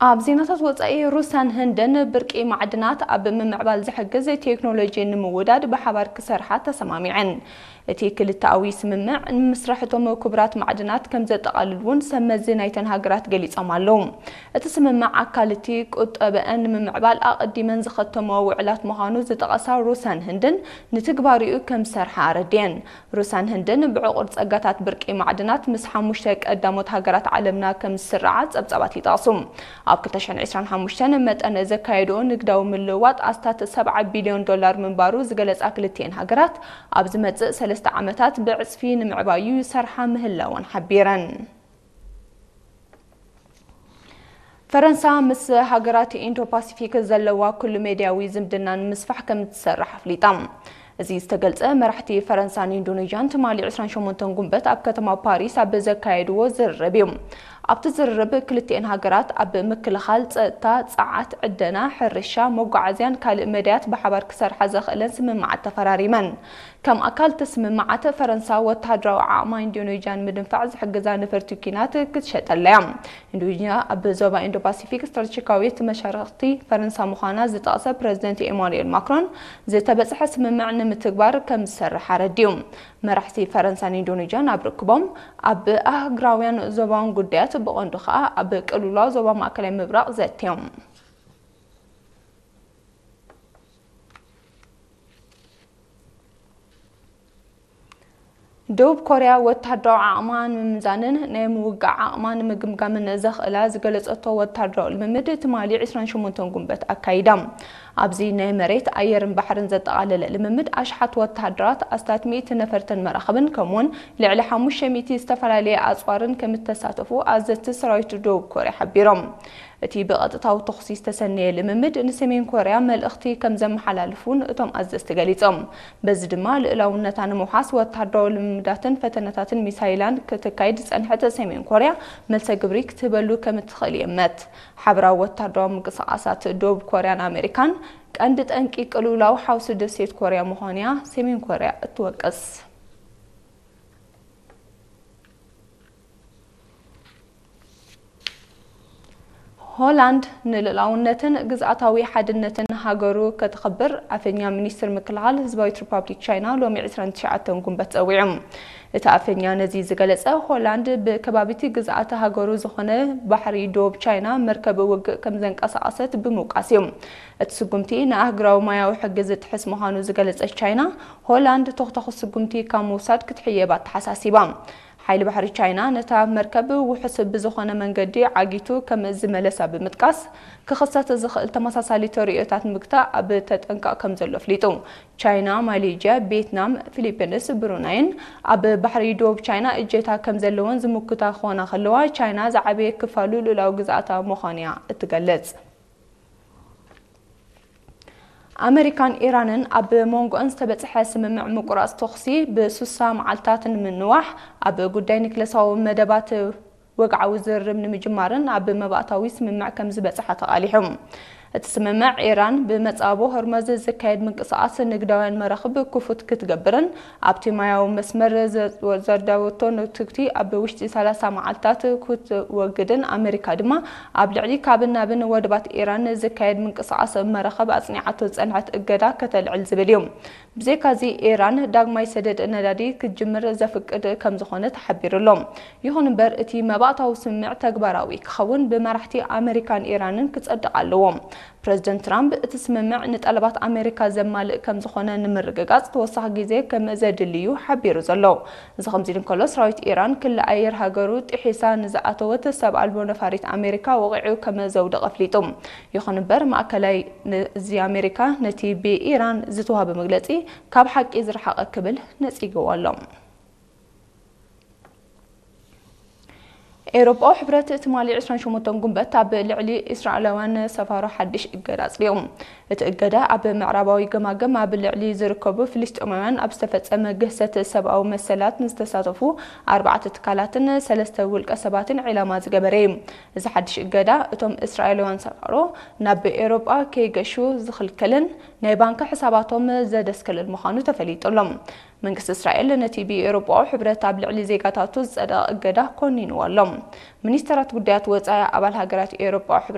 ኣብ ዜናታት ወጻኢ፣ ሩስያን ህንድን ብርቂ ማዕድናት ኣብ ምምዕባል ዝሕግዝ ቴክኖሎጂ ንምውዳድ ብሓባር ክሰርሓ ተሰማሚዐን። እቲ ክልተኣዊ ስምምዕ ንምስራሕ እቶም ክቡራት ማዕድናት ከም ዘጠቓልል እውን ሰብ መዚ ናይተን ሃገራት ገሊጾም ኣለዉ። እቲ ስምምዕ ኣካል እቲ ቁጠበአን ንምምዕባል ኣቐዲመን ዝኸተመኦ ውዕላት ምዃኑ ዝጠቐሳ ሩስያን ህንድን፣ ንትግባሪኡ ከም ዝሰርሓ ኣረዲአን። ሩስያን ህንድን ብዕቑር ጸጋታት ብርቂ ማዕድናት ምስ ሓሙሽተ ቀዳሞት ሃገራት ዓለምና ከም ዝስርዓ ጸብጻባት ይጠቕሱ። ኣብ ክልተ ሽሕን ዕስራን ሓሙሽተን መጠን ዘካየድኦ ንግዳዊ ምልውዋጥ ኣስታት ሰብዓ ቢልዮን ዶላር ምንባሩ ዝገለጻ ክልቲኤን ሃገራት፣ ኣብ ዝመጽእ ሰለስተ ዓመታት ብዕጽፊ ንምዕባዩ ይሰርሓ ምህላወን ሓቢረን። ፈረንሳ ምስ ሃገራት ኢንዶ ፓሲፊክ ዘለዋ ኩሉ ሜድያዊ ዝምድና ንምስፋሕ ከም እትሰርሕ ኣፍሊጣ። እዚ ዝተገልጸ፣ መራሕቲ ፈረንሳን ኢንዶኔዥያን ትማሊ ዕስራን ሸሞንተን ጉንበት ኣብ ከተማ ፓሪስ ኣብ ዘካየድዎ ዝርርብ እዩ። ኣብቲ ዝርርብ፣ ክልቲኤን ሃገራት ኣብ ምክልኻል፣ ጸጥታ፣ ጸዓት፣ ዕደና፣ ሕርሻ፣ መጓዓዝያን ካልእ መዳያት ብሓባር ክሰርሓ ዘኽእለን ስምምዓት ተፈራሪመን። ከም ኣካል እቲ ስምምዓት፣ ፈረንሳ ወተሃደራዊ ዓቕማ ኢንዶኔዥያ ንምድንፋዕ ዝሕግዛ ነፈርቲ ኲናት ክትሸጠላ እያ። ኢንዶኔዥያ ኣብ ዞባ ኢንዶ ፓሲፊክ ስትራቴጂካዊት መሻርኽቲ ፈረንሳ ምዃና ዝጠቕሰ ፕረዚደንት ኤማኑኤል ማክሮን፣ ዝተበጽሐ ስምምዕ ንምትግባር ከም ዝሰርሕ ኣረዲኡ። መራሕቲ ፈረንሳን ኢንዶኔዥያን ኣብ ርክቦም፣ ኣብ ኣህጉራውያን ዞባውን ጉዳያት፣ ብቐንዱ ከኣ ኣብ ቅልውላው ዞባ ማእከላይ ምብራቕ ዘትዮም። ደቡብ ኮርያ ወተሃደራዊ ዓቕማ ንምምዛንን ናይ ምውጋእ ዓቕማ ንምግምጋምን ዘኽእላ ዝገለጸቶ ወተሃደራዊ ልምምድ ትማሊ ዕስራን ሸሞንተን ጉንበት ኣካይዳ። ኣብዚ ናይ መሬት፣ ኣየርን ባሕርን ዘጠቓለለ ልምምድ፣ ኣሽሓት ወተሃደራት፣ ኣስታት ሚእቲ ነፈርትን መራኽብን፣ ከምኡውን ልዕሊ ሓሙሽተ ሚእቲ ዝተፈላለየ ኣጽዋርን ከም እተሳተፉ ኣዘዝቲ ሰራዊት ደቡብ ኮርያ ሓቢሮም። እቲ ብቐጥታዊ ተኹሲ ዝተሰነየ ልምምድ ንሰሜን ኮርያ መልእኽቲ ከም ዘመሓላልፍ እውን እቶም ኣዘዝቲ ገሊጾም። በዚ ድማ ልኡላውነታ ንምውሓስ ወተሃደራዊ ልምምዳትን ፈተነታትን ሚሳይላን ከተካይድ ዝጸንሐት ሰሜን ኮርያ፣ መልሰ ግብሪ ክትህበሉ ከም እትኽእል ይእመት። ሓበራዊ ወተሃደራዊ ምንቅስቓሳት ደቡብ ኮርያን ኣሜሪካን፣ ቀንዲ ጠንቂ ቅልውላው ሓውሲ ደሴት ኮርያ ምዃኑ'ያ ሰሜን ኮርያ እትወቅስ። ሆላንድ ንልኡላውነትን ግዝኣታዊ ሓድነትን ሃገሩ ከተኽብር ኣፈኛ ሚኒስትር ምክልኻል ህዝባዊት ሪፓብሊክ ቻይና ሎሚ ዕስራን ትሽዓተን ጉንበት ጸዊዑ። እቲ ኣፈኛ ነዚ ዝገለጸ፣ ሆላንድ ብከባቢቲ ግዝኣተ ሃገሩ ዝኾነ ባሕሪ ዶብ ቻይና መርከብ ውግእ ከም ዘንቀሳቐሰት ብምውቃስ እዩ። እቲ ስጉምቲ ንኣህጉራዊ ማያዊ ሕጊ ዝጥሕስ ምዃኑ ዝገለጸት ቻይና፣ ሆላንድ ተኹተኹ ስጉምቲ ካብ ምውሳድ ክትሕየብ ኣተሓሳሲባ። ሓይሊ ባሕሪ ቻይና ነታ መርከብ ውሑስ ብዝኾነ መንገዲ ዓጊቱ ከም ዝመለሳ ብምጥቃስ፣ ክኽሰት ዝኽእል ተመሳሳሊ ተርእዮታት ንምግታእ ኣብ ተጠንቀቕ ከም ዘሎ ኣፍሊጡ። ቻይና፣ ማሌዥያ፣ ቬትናም፣ ፊሊፒንስ፣ ብሩናይን ኣብ ባሕሪ ዶብ ቻይና እጀታ ከም ዘለወን ዝምክታ ክኾና ከለዋ፣ ቻይና ዝዓበየ ክፋሉ ልኡላዊ ግዝኣታ ምዃኑ'ያ እትገልጽ። ኣመሪካን ኢራንን ኣብ መንጎኣን ዝተበጽሐ ስምምዕ ምቁራጽ ተኹሲ ብሱሳ መዓልታት ንምንዋሕ፣ ኣብ ጉዳይ ኒክለሳዊ መደባት ወግዓዊ ዝርርብ ንምጅማርን ኣብ መባእታዊ ስምምዕ ከም ዝበጽሓ ተቓሊሑ። እቲ ስምምዕ፣ ኢራን ብመጻቦ ሆርመዝ ዝካየድ ምንቅስቓስ ንግዳውያን መራኽብ ክፉት ክትገብርን ኣብቲ ማያዊ መስመር ዘ-፣ ዘዳወቶ ንትግቲ ኣብ ውሽጢ ሰላሳ መዓልታት ክትወግድን ኣመሪካ ድማ ኣብ ልዕሊ ካብን ናብን ወደባት ኢራን ዝካየድ ምንቅስቓስ መራኽብ ኣጽኒዓቶ ዝጸንሐት እገዳ ከተልዕል ዝብል እዩ። ብዘይካዚ፣ ኢራን ዳግማይ ሰደድ ነዳዲ ክትጅምር ዘፍቅድ ከም ዝኾነ ተሓቢሩ ኣሎ። ይኹን እምበር፣ እቲ መባእታዊ ስምምዕ ተግባራዊ ክኸውን ብመራሕቲ ኣመሪካን ኢራንን ክጸድቕ ኣለዎ። ፕረዚደንት ትራምፕ፣ እቲ ስምምዕ ንጠለባት ኣመሪካ ዘማልእ ከም ዝኾነ ንምርግጋጽ ተወሳኺ ግዜ ከም ዘድሊ እዩ ሓቢሩ ዘሎ። እዚ ከምዚ ኢሉ እንከሎ፣ ሰራዊት ኢራን ክሊ ኣየር ሃገሩ ጥሒሳ ንዝኣተወት ሰብ ኣልቦ ነፋሪት ኣሜሪካ ወቒዑ ከም ዘውደቐ ኣፍሊጡ። ይኹን እምበር፣ ማእከላይ እዚ ኣሜሪካ ነቲ ብኢራን ዝተዋህበ መግለጺ ካብ ሓቂ ዝረሓቐ ክብል ነጺግዎ ኣሎ። ኤውሮጳዊ ሕብረት ትማሊ ዕስራን ሸሞንተን ጉንበት ኣብ ልዕሊ እስራኤላውያን ሰፋሮ ሓድሽ እገዳ ኣጽዲቑ። እቲ እገዳ ኣብ ምዕራባዊ ገማግም ኣብ ልዕሊ ዝርከቡ ፍልስጤማውያን ኣብ ዝተፈጸመ ግህሰት ሰብኣዊ መሰላት ንዝተሳተፉ ኣርባዕተ ትካላትን ሰለስተ ውልቀ ሰባትን ዒላማ ዝገበረ እዩ። እዚ ሓድሽ እገዳ እቶም እስራኤላውያን ሰፋሮ ናብ ኤውሮጳ ከይገሹ ዝኽልክልን ናይ ባንክ ሕሳባቶም ዘደስክልን ምዃኑ ተፈሊጡ ኣሎ። መንግስቲ እስራኤል ነቲ ብኤውሮጳዊ ሕብረት ኣብ ልዕሊ ዜጋታቱ ዝጸደቐ እገዳ ኮኒንዎ ኣሎ። ሚኒስተራት ጉዳያት ወጻኢ ኣባል ሃገራት ኤውሮጳዊ ሕብረት